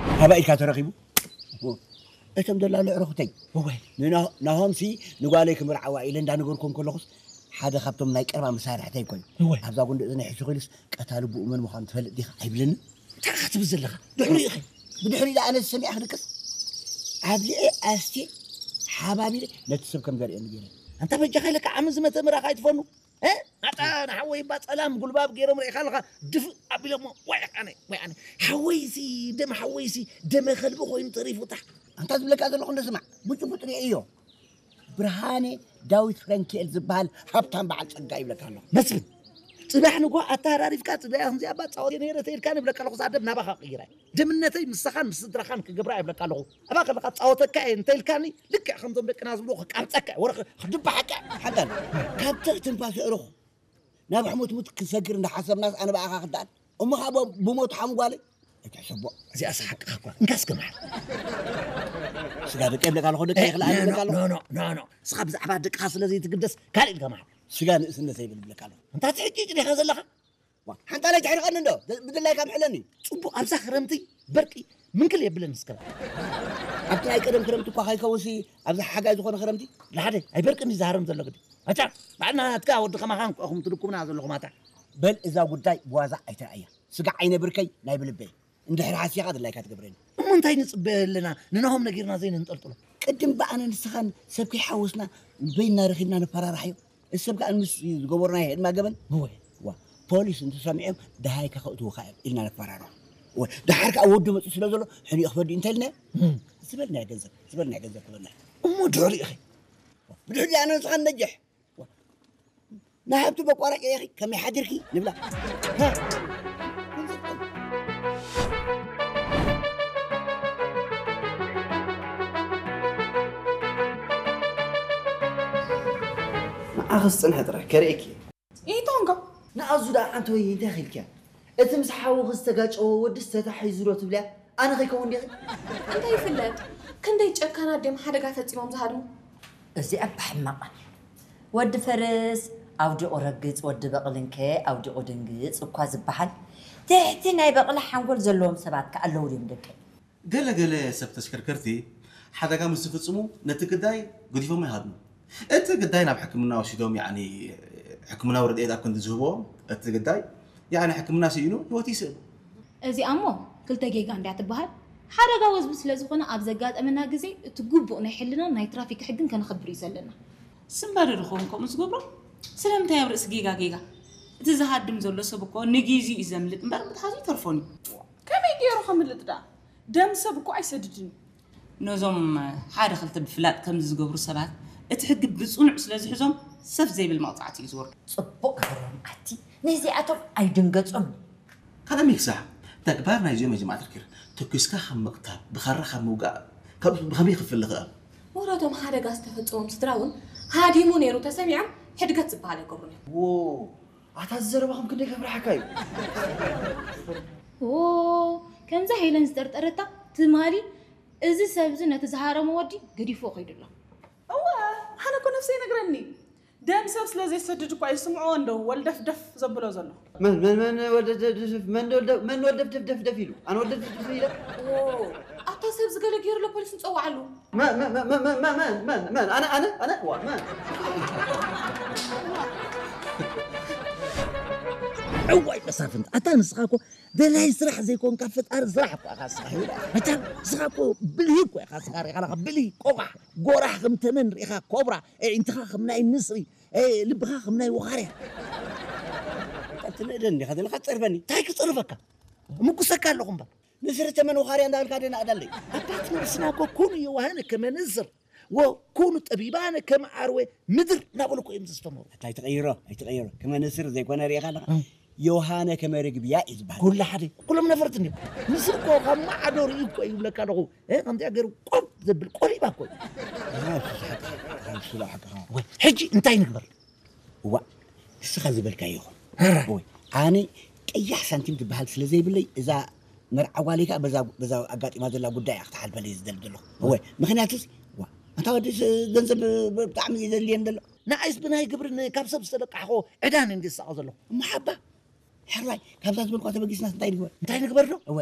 ካባይ ኢልካ ተረኺቡ? እቶም ደላሎ ዕረኹተይ። እወ። ንና-፣ ናሆምሲ ንጓለይ ክምርዓዋ ኢለ እንዳነገርኩም ከለኹስ ሓደ ካብቶም ናይ ቀረባ መሳርሕተይ እኮ እዩ። እወ። ኣብዛ ጉንዲ እዝኒ ሕሹኽ ኢሉስ ቀታሊ ብኡ መን ምዃኑ ትፈልጥ ዲኻ ኣይብለንን? እንታይ ኢኻ ትብል ዘለኻ? ድሕሪኡ ኢኺ። ብድሕሪኡ ኣነ ዝሰሚዐ ክድቅስ ኣብሊዐ ኣስቴ ሓባቢረ ነቲ ሰብ ከም ዘርእየኒ ገይረ። ኣንታ በጃኻ ኢለካ ዓሚ ዝመተ ምራኻ ኣይትፈኑ። እ? ኣታ ንሓወይ እባ ጸላም ጉልባብ ገይሮም ርኢኻ ኣለኻ ድፍእ ኣቢሎሞ። ወይ ኣነ፣ ወይ ኣነ። ሓወይሲ፣ ደም ሓወይሲ፣ ደመ ከልቢ ኮይኑ ተሪፉ። ታሕ። ኣንታ ዝብለካ ዘለኹ እንዶ ስማዕ። ብጭቡጥ ርኢዮ። ብርሃነ ዳዊት ፍረንኪኤል ዝበሃል ሃብታም በዓል ጸጋ ይብለካ ኣለኹ። መስፍን፣ ጽባሕ ንግሆ ኣተሃራሪፍካ ጽባሕ ከምዚኣ እባ ጻወት ነይረ ተይልካ ንብለካ ኣለኹ። እዛ ደም ናባኻ ቀይራ። ደምነተይ ምሳኻን ምስ ስድራኻን ክገብራ ይብለካ ኣለኹ። ኣባ ከለኻ ጻወተካ እየ እንተ ኢልካኒ፣ ልክዕ ከምዞም ደቅና ዝብሉ ክቃብጸካ እየ፣ ወረ ክድባሓካ እየ። ሓንካል፣ ካብ ትኽ ትንፋስ የዕሩኽ ናብ ሕሙትሙት ክሰግር እንዳሓሰብናስ ኣነ ብኣኻ ክደኣል። እሞ ኻብ ብሞት ሓሙ ጓለይ ኣይትሕሰቦ። እዚኣስ ሓቅኻ እኳ። እንካ እስከ መሓር። ስጋ ደቂ ይብለካ ኣለኹ፣ ደቂ እ፣ ይኽልኣኒ ኖ፣ ይብለካ ኣለኹ። ኖ፣ ኖ፣ ኖ፣ ኖ። እስኻ ብዛዕባ ደቅኻ ስለ ዘይትግደስ ካልእ ኢልካ መሓር። ስጋ ንእስነት ዘይብል ይብለካ ኣለኹ። እንታይ ትሕጭጭ ዲኻ ዘለኻ? ዋ፣ ሓንጣላይ ትሕርቐኒ እንዶ፣ ብ-፣ ብድላይካ ምሕለኒ። ጽቡቕ፣ ኣብዛ ክረምቲ በርቂ ምንክል የብለን እስከ። ኣብቲ ናይ ቀደም ክረምቲ እኳ ከይከውንሲ፣ ኣብዚ ሓጋይ ዝኾነ ክረምቲ? ላሓደ፣ ኣይበርቅን እዩ ዝሃረም ዘሎ ግዲ። ኣታ፣ ባዕልና ናትካ ወዲ ከማኻን እኹም ትድኩምና ዘለኹም ኣታ። በል እዛ ጉዳይ ብዋዛ ኣይትርኣያ። ስጋዕ ዓይነ ብርከይ ናይ ብልበይ። እንድሕር ሓሲኻ ድላይካ ትገብረኒ። እሞ እንታይ ንጽበ ኣለና? ንናሆም ነጊርና ዘይንንጠልጥሎ። ቅድም ብኣነ ንስኻን ሰብ ከይሓወስና በይንና ረኺብና ንፈራርሓዮ። እሰብ ከኣ ምስ ዝገበርናዮ ህድማ ገበን። እወ። ዋ፣ ፖሊስ እንተሰሚዖም ደሃይካ ከእትዉኻ እዮም ኢልና ነፈራርሖ። እወ፣ ደሓር ከኣ ወዲ መጺኡ ስለ ዘሎ ሕኒኡ ክፈዲ እንተልና እም። ዝበልናዮ ገንዘብ፣ ዝበልናዮ ገንዘብ ክበልና። እሞ ድሕሪኡ ኸ? ብድሕሪኡ ኣነ ንስኻን ነጅሕ። ዋ፣ ንሃብቲ በቋራጭ ኢኺ ከመይ ሓዲርኪ ንብላ። ሃ? ንዓኺ ዝጽንሐ ጥራይ ከርእየኪ እየ። ኢቶንጎ። ንኣዙ ደኣ ኣንተ ወይ እንታይ ኺልክያ? እቲ ምስ ሓውኺ ዝተጋጨወ ወድስ ተታሒዙ ዶ ትብልያ? ኣነ ኸይከውን ዲኺ? እንታይ ይፍለጥ? ክንደይ ጨካናት ድዮም ሓደጋ ፈጺሞም ዝሃድሙ? እዚኣ እባ ሕማቕ። ወዲ ፈረስ ኣውዲቑ ረግጽ፣ ወዲ በቕልንከ ኣውዲቑ ድንግጽ እኳ ዝበሃል። ትሕቲ ናይ በቕሊ ሓንጎል ዘለዎም ሰባት ከ ኣለዉ ድዮም ደቀይ? ገለ ገለ ሰብ ተሽከርከርቲ ሓደጋ ምስ ዝፍጽሙ ነቲ ግዳይ ገዲፎሞ ይሃድሙ። እቲ ግዳይ ናብ ሕክምና ወሲዶም፣ ያዕኒ ሕክምናዊ ረድኤት ኣብ ክንዲ ዝህብዎም፣ እቲ ግዳይ ያዕኒ ሕክምና ስኢኑ ህይወቱ ይስእን። እዚኣ እሞ ክልተ ጌጋ እንድያ ትበሃል። ሓደጋ ወዝቢ ስለ ዝኾነ ኣብ ዘጋጠመና ግዜ እቲ ግቡእ ናይ ሕልናን ናይ ትራፊክ ሕግን ከነኽብር እዩ ዘለና። ስምባደ ዶ ኸውን ከምኡ ዝገብሮ? ስለምንታይ ኣብ ርእሲ ጌጋ ጌጋ? እቲ ዝሃድም ዘሎ ሰብ እኮ ንጊዜኡ እዩ ዘምልጥ እምበር ምትሓዙ ኣይተርፎን እዩ። ከመይ ገይሩ ከምልጥ ደኣ? ደም ሰብ እኮ ኣይሰድድን እዩ። ነዞም ሓደ ክልተ ብፍላጥ ከምዚ ዝገብሩ ሰባት እቲ ሕጊ ብጽኑዕ ስለ ዝሕዞም ሰፍ ዘይብል መቕጻዕቲ እዩ ዝወርዶም። ጽቡቕ ገበርዎም ኣቲ። ነዚኣቶም ኣይድንገጾም። ካልእ ሚክሳሕ፣ ተግባር ናይዚኦም መጀማዕታ ርኪር ተኲስካ ካብ ምቕታል፣ ብኻራ ካብ ምውጋእ፣ ካብ ብኸመይ ክፍሊ ክእል? ወረቶም ሓደጋ ዝተፈጸሞም ስድራ እውን ሃዲሙ ነይሩ ተሰሚዖም ሕድገት ዝበሃል ኣይገብሩን እዮም። ዎ፣ ኣታ እዚ ዘረባኹም ክንደይ ከፍርሓካ እዩ። ዎ፣ ከምዛ ሄለን ዝጠርጠረታ ትማሊ እዚ ሰብ እዚ ነቲ ዝሃረሞ ወዲ ገዲፎ ከይዱ ኣሎ። እወ፣ ኣነ እኮ ነፍሰይ ይነግረኒ። ደም ሰብ ስለ ዘይሰድድ እኳ እዩ ስምዖ እንዶ ወልደፍደፍ ዘብሎ ዘሎ። መን፣ መን፣ መን ወልደፍደፍ፣ መን ወልደ-፣ መን ወልደፍደፍ ደፍ ደፍ ኢሉ? ኣነ ወልደፍደፍ ደፍ ኢለ? ዎ፣ ኣታ ሰብ ዝገለ ገይሩ ኣሎ ፖሊስ ንጸውዓሉ። መን፣ መን፣ መን፣ መን፣ መን፣ መን፣ መን፣ መን፣ ኣነ፣ ኣነ፣ ኣነ፣ ዋ፣ መን? እዋይ መሳፍንት፣ ኣታ ንስኻ እኮ ደላይ ስራሕ ዘይኮንካ ፈጣሪ ስራሕ እኮ ኢኻ ንስኻ ይብላ። መቸም ንስኻ እኮ ብልሂ እኮ ኢኻ ንስኻ ርኢኻ ኣለኻ፣ ብልሂ፣ ቆቋሕ፣ ጎራሕ ከም ተመን ርኢኻ ኮብራ፣ ኣዒንትኻ ከም ናይ ንስሪ፣ እ፣ ልብኻ ከም ናይ ወኻርያ። ኣታ ትንእደኒ ኢኻ ዘለኻ ትጸርፈኒ። እንታይ ክጸርፈካ? እምጉሰካ ኣለኹ እምበር። ንስሪ ተመን ወኻርያ እንዳበልካ ደናቕዳለይ። ኣባት ነብስና እኮ ኩኑ የዋሃነ ከመ ንስር ወኩኑ ጠቢባነ ከመ ዓርዌ ምድር እናበሉ እኮ እዮም ዘስተምሩ። ኣታ ኣይትቐይሮ፣ ኣይትቐይሮ። ከመ ንስር ዘይኮነ ርኢኻ ኣለኻ? እም። ዮሃነ ከመ ርግብያ እዩ ዝበሃል። ኩሉ ሓደ፣ ኩሎም ነፈርቲ እንዲዮም። ንስር እኮ ካብ ማዕዶ ርእዩ እኮ እዩ ይብለካ ኣለኹ። እ፣ ከምዚኣ ገይሩ ቆብ ዘብል ቆሊባ እኮ እዩ። ኣይ፣ እሱ ሓቅኻ፣ እሱ ሓቅኻ። ወይ፣ ሕጂ እንታይ ንግበር? እዋእ፣ ንስኻ ዝበልካዮ ይኹን። ሕራይ። እወ፣ ኣነ ቀያሕ ሳንቲም ትበሃል ስለ ዘይብለይ፣ እዛ መርዓ ጓለይ ከኣ በዛ፣ በዛ ኣጋጢማ ዘላ ጉዳይ እያ ክትሓልፈለይ ዝደሊ ዘለኹ። እወ፣ ምኽንያቱስ፣ ዋ፣ ኣንታ ወዲ ስ-፣ ገንዘብ ብ-፣ ብጣዕሚ እዩ ዘድልየኒ ዘሎ። ንዓይስ ብናይ ግብርን ካብ ሰብ ዝተበቃሕኮ ዕዳን እንዲ ዝስኣቕ ዘለኹ። እሞ ሓባ፣ ሕራይ፣ ካብዛ ዝበልኳ ተበጊስናስ እንታይ ንግበር? እንታይ ንግበር ዶ? እወ።